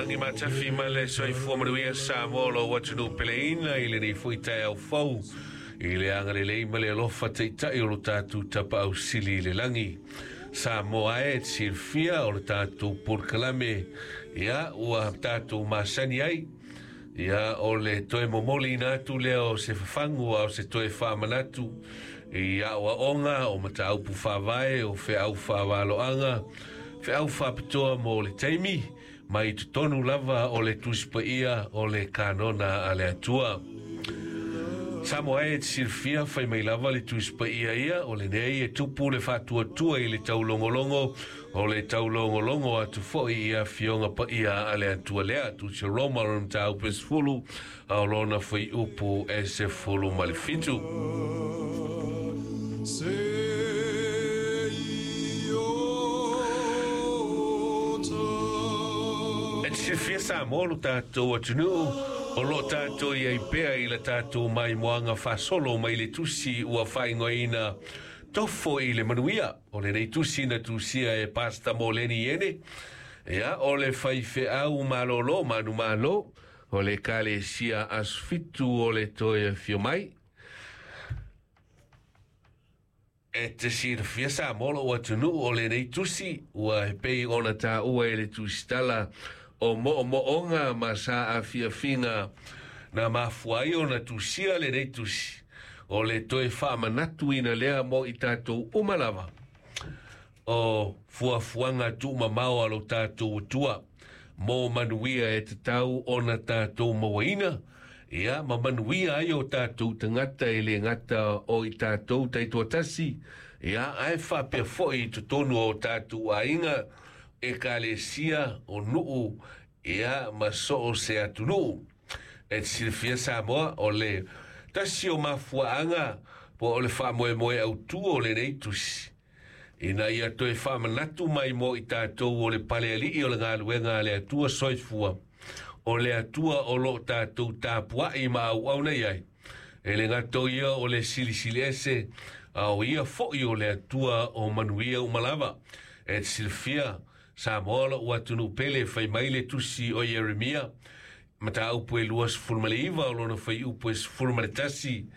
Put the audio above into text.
Lagi matafi ma le soifua manuia Samoa lou atunuu peleina i lenei foi taeao fou i le agalelei ma le alofa taitai o lo tatou Tapaau Sili i le lagi. Samoa e te silafia o le tatou polokalame ia ua tatou masani ai ia o le toe momoliina atu lea o se fafagu a o se toe faamanatu i aoaoga o mataupu faavae o feau faavaloaga feau faapitoa mo le taimi mai totonu lava o le Tusi Paia o le Kanona a le Atua. Samoa e te silafia fai mai lava le Tusi Paia ia o lenei e tupu le faatuatua i le taulogologo o le taulogologo atu foi i afioga paia a le Atua lea Tusi Roma o le mataupu e 10 a o lona fuaiupu e 17. E te silafia Samoa lo tatou atunuu o loo tatou i ai pea i la tatou maimoaga faasolo mai le tusi ua faaigoaina Tofo i le Manuia. O lenei tusi na tusia e Pasta Moleni Iene, ia o le faifeau malolo manumalo o le Ekalesia Aso Fitu o le Toe Afio Mai. E te silafia Samoa lou atunuu o lenei tusi ua e pei ona taua e le tusitala o moomooga ma saafiafiga na mafua ai ona tusia lenei tusi o le toe faamanatuina lea mo i tatou uma lava o fuafuaga tuumamao a lo tatou Atua mo manuia e tatau ona tatou mauaina ia ma manuia ai o tatou tagata e le gata o i tatou taitoatasi ia ae faapea foi i totonu o tatou aiga ekalesia o nuu ia ma soo se atunuu. E te silafia Samoa o le tasi o mafuaaga po o le faamoemoe autū o lenei tusi ina ia toe faamanatu mai mo i tatou o le palealii o le galuega a le Atua soifua o le Atua o loo tatou tapuai ma auauna i ai. E le gata o ia o le silisili ese a o ia foi o le Atua o manuia uma lava. E te silafia Samoa lou atunuu pele fai mai le tusi o Ieremia mataupu e 29 o lona fuaiupu e 11.